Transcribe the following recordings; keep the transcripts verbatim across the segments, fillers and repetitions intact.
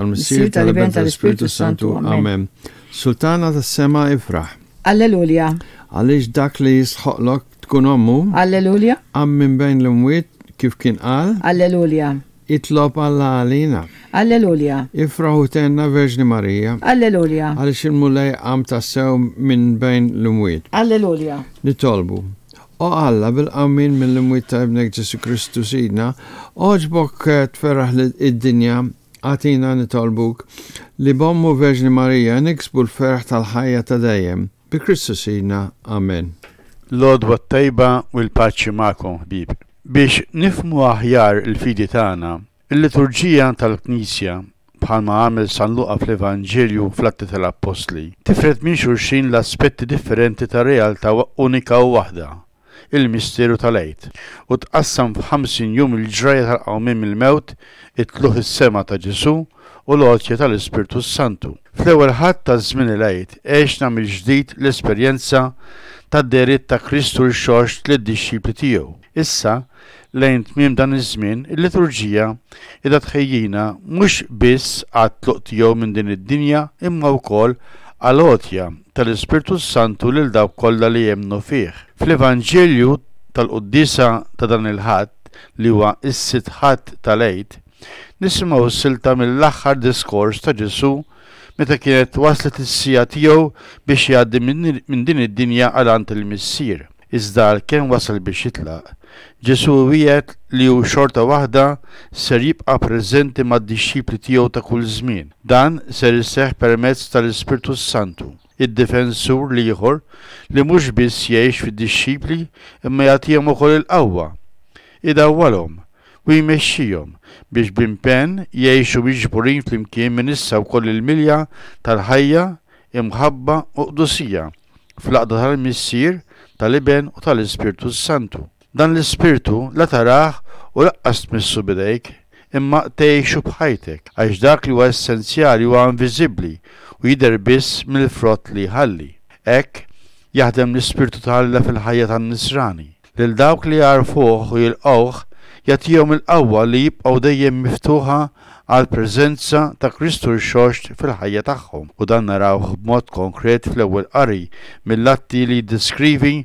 Tal-Missier, tal-Iben, tal-Ispirtu Santu. Amen. Sultana tas-sema, ifraħ. Alleluja. Għaliex dak li jistħoqqlok tkun ommu. Alleluja. Qam minn bejn l-imwiet kif kien qal. Alleluja. Itlob Alla għalina. Alleluja. Ifraħ u thenna, Verġni Marija. Alleluja. Għaliex il-Mulej qam tassew minn bejn l-imwiet. Alleluja. Nitolbu. O Alla, bil-qawmien mill-imwiet ta' Ibnek Ġesu Kristu Sidna, għoġbok tferraħ id-dinja, agħtina, nitolbuk, li b'ommu Verġni Marija niksbu l-ferħ tal-ħajja ta' dejjem. Bi Kristu Sidna. Amen. L-għodwa tajba u l-paċi magħkom, ħbieb. Biex nifhmu aħjar il-fidi tagħna, il-liturġija tal-Knisja, bħalma għamel San Luqa fl-Evanġelju fl-Atti tal-Appostli, tifred minn xulxin l-aspetti differenti ta' realtà unika u waħda, il-misteru tal-Għid, u tqassam f'ħamsin jum il-ġrajja tal-qawmien mill-mewt, it-tlugħ is-sema ta' Ġesu u l-għotja tal-Ispirtu Santu. Fl-ewwel Ħadd ta' żmien il-Għid għexna mill-ġdid l-esperjenza tad-dehriet ta' Kristu rxoxt lid-dixxipli tiegħu. Issa, lejn tmiem dan iż-żmien, il-liturġija qiegħda tħejjina mhux biss għat-tluq tiegħu minn din id-dinja imma wkoll għal-għotja tal-Ispirtu Santu lil dawk kollha li jemmnu fih. Fl-Evanġelju tal-Quddiesa ta' dan il-Ħadd, li huwa s-sitt Ħadd tal-Għid, nisimgħu silta mill-aħħar diskors ta' Ġesu meta kienet waslet is-siegħa tiegħu biex jgħaddi minn din id-dinja għal għand il-Missier. Iżda għalkemm wasal biex jitlaq, Ġesu wiegħed li hu xorta waħda ser jibqa' preżenti mad-dixxipli tiegħu ta' kull żmien. Dan ser iseħħ permezz tal-Ispirtu Santu, id-difensur l-ieħor li mhux biss jgħix fid-dixxipli imma jagħtihom ukoll il-qawwa, idawwalhom u jmexxihom biex b'impenn jgħixu miġburin flimkien minn issa wkoll il-milja tal-ħajja, imħabba u qdusija fl-għaqda tal-Missier, tal-Iben u tal-Ispirtu Santu. Dan l-Ispirtu la tarah u lanqas tmissu b'idejk, imma tgħixu b'ħajtek, għax dak li huwa essenzjali huwa inviżibbli u jidher biss mill-frott li jħalli. Hekk jaħdem l-Ispirtu ta' Alla fil-ħajja tan-Nisrani. Lil dawk li jagħrfuh u jilqgħuh jagħtihom il-qawwa li jibqgħu dejjem miftuħa għall-preżenza ta' Kristu rxoxt fil-ħajja tagħhom. U dan narawh b'mod konkret fl-ewwel qari mill-Atti li jiddeskrivi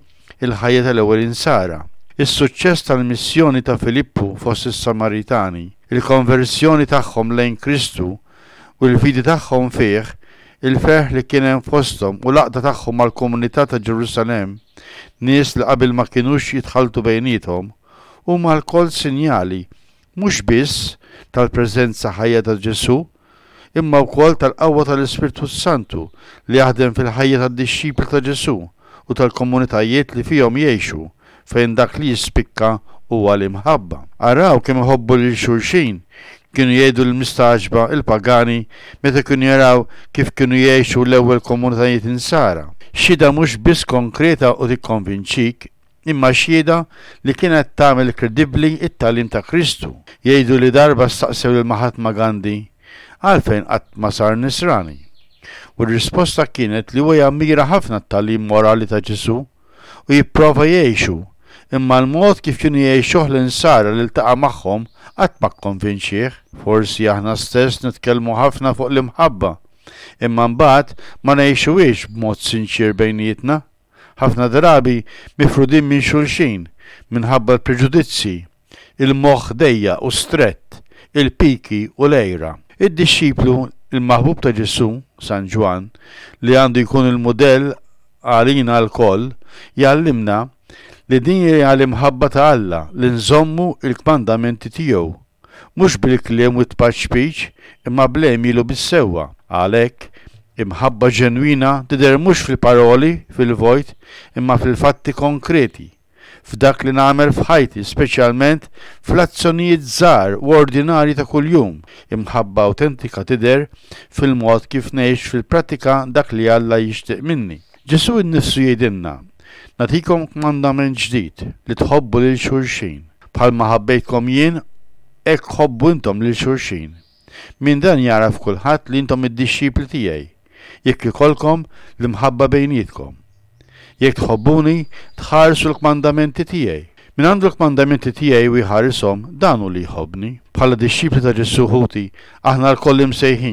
il-ħajja tal-ewwel insara. Is-suċċess tal-missjoni ta' Filippu fost is-Samaritani, il-konversjoni tagħhom lejn Kristu u l-fidi tagħhom fih, il-ferħ li kien hemm fosthom u l-għaqda tagħhom mal-komunità ta' Ġerusalemm, nies li qabel ma kinux jitħaltu bejniethom, huma lkoll sinjali mhux biss tal-preżenza ħajja ta' Ġesu, imma wkoll tal-qawwa tal-Ispirtu Santu li jaħdem fil-ħajja tad-dixxipli ta' Ġesu u tal-komunitajiet li fihom jgħixu, fejn dak li jispikka huwa l-imħabba. "Araw kemm iħobbu lil xulxin," kienu jgħidu l-mistagħġba il-pagani meta kienu jaraw kif kienu jgħixu l-ewwel komunitajiet insara. Xhieda mhux biss konkreta u tikkonvinċik, imma xhieda li kienet tagħmel kredibbli it-tagħlim ta' Kristu. Jgħidu li darba staqsew lil Mahatma Gandhi għalfejn qatt ma sar Nisrani. U r-risposta kienet li huwa jammira ħafna t-tagħlim morali ta' Ġesu u jipprova jgħixu, imma l-mod kif kienu jgħixuh l-insara li ltaqa' magħhom qatt ma kkonvinċih. Forsi aħna stess nitkellmu ħafna fuq l-imħabba, imma mbagħad ma ngħixuhiex b'mod sinċier bejnietna. Ħafna drabi mifrudin minn xulxin minħabba l-preġudizzi, il-moħħ dejjaq u strett, il-piki u l-għira. Id-dixxiplu il-maħbub ta' Ġesu, San Ġwann, li għandu jkun il-mudell għalina lkoll, jgħallimna li din hija l-imħabba ta' Alla li nżommu il-kmandamenti tiegħu, mhux bil-kliem u t-tpaċpiċ imma bl-għemil u bis-sewwa. Għalhekk, imħabba ġenwina tidher mhux fil-paroli, fil-vojt, imma fil-fatti konkreti, f'dak li nagħmel f'ħajti, speċjalment fl-azzjonijiet żgħar u ordinarji ta' kuljum. Imħabba awtentika tidher fil-mod kif ngħix fil-prattika dak li Alla jixtieq minni. Ġesu nnifsu jgħidilna: "Nagħtikom kmandament ġdid, li tħobbu lil xulxin. Bħalma ħabbejtkom jien, hekk ħobbu intom lil xulxin. Minn dan jagħraf kulħadd li intom id-dixxipli tiegħi, jekk ikollkom l-imħabba bejnietkom. Jekk tħobbuni, tħarsu l-kmandamenti tiegħi." Min għandu l-kmandamenti tiegħi u jħarishom, dan hu li jħobbni. Bħala dixxipli ta' Ġesù, ħuti, aħna lkoll imsejħin